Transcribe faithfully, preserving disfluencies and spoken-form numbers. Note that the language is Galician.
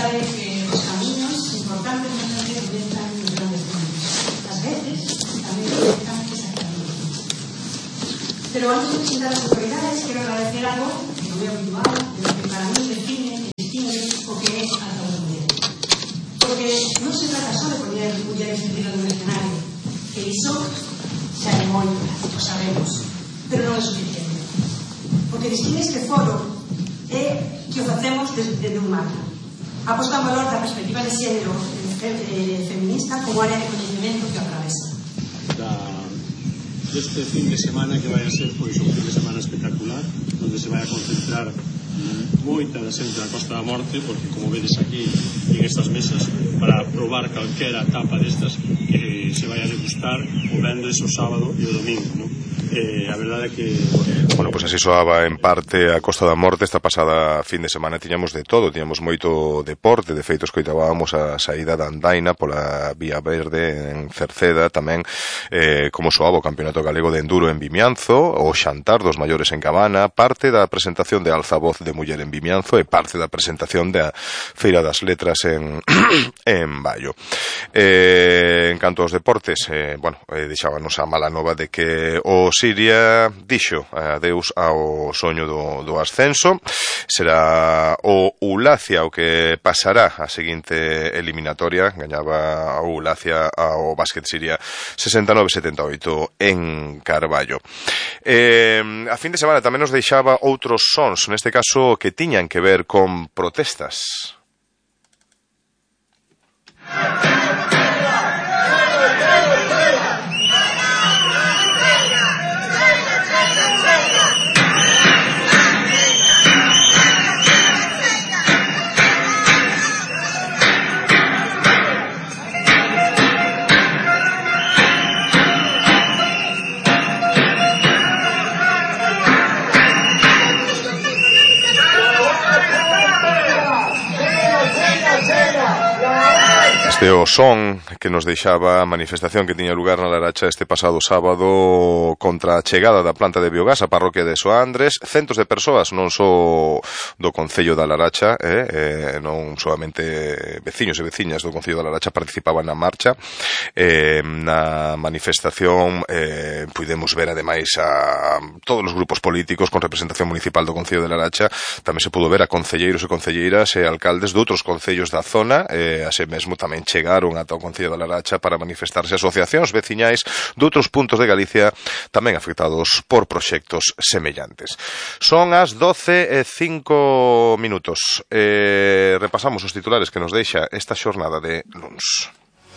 sabe que os camiños importantes non se orientan nos grandes camiños. Ás veces tamén orientan exactamente. Pero antes de presentar as autoridades, quero agradecer algo que non é habitual, pero que para mí define e distingue o que é a causa das mulleres. Porque non se trata só de poñer mulleres en cima dun escenario, que iso xa é moito, o sabemos, pero non é suficiente. Porque distingue este foro é que o facemos desde un marco. Aposta en valor da perspectiva de xénero feminista como área de coñecemento que atravesa. Este fin de semana que vai a ser pois un fin de semana espectacular, onde se vai a concentrar moita da xente da Costa da Morte, porque como vedes aquí en estas mesas, para probar calquera tapa destas que se vai a degustar o venres, o sábado e o domingo, non? Eh, a verdade é que... Bueno, pois pues así soaba en parte a Costa da Morte. Esta pasada fin de semana tiñamos de todo, tiñamos moito deporte. De feito, escoitábamos a saída da andaina pola Vía Verde en Cerceda, tamén eh, como soaba o Campeonato Galego de Enduro en Vimianzo, o xantar dos maiores en Cabana, parte da presentación de Altavoz de Muller en Vimianzo e parte da presentación da Feira das Letras en, en Baio. Eh, en canto aos deportes, eh, bueno, eh, deixábanos a mala nova de que o Siria dixo adeus ao soño do, do ascenso. Será o Ulacia o que pasará a seguinte eliminatoria. Gañaba o Ulacia ao Básquet Siria sesenta e nove a setenta e oito en Carballo. Eh, a fin de semana tamén nos deixaba outros sons, neste caso que tiñan que ver con protestas. Este o son que nos deixaba a manifestación que tiña lugar na Laracha este pasado sábado contra a chegada da planta de biogás á parroquia de Soandres. Centos de persoas, non só do Concello da Laracha, eh, eh, non solamente veciños e veciñas do Concello da Laracha participaban na marcha. Eh, na manifestación eh, pudemos ver ademais a todos os grupos políticos con representación municipal do Concello de Laracha. Tamén se pudo ver a concelleiros e concelleiras e alcaldes de outros concellos da zona, e así mesmo tamén chegaron ata o Concello da Laracha para manifestarse asociacións veciñais de outros puntos de Galicia tamén afectados por proxectos semellantes. Son as doce e cinco minutos. Eh, repasamos os titulares que nos deixa esta xornada de luns.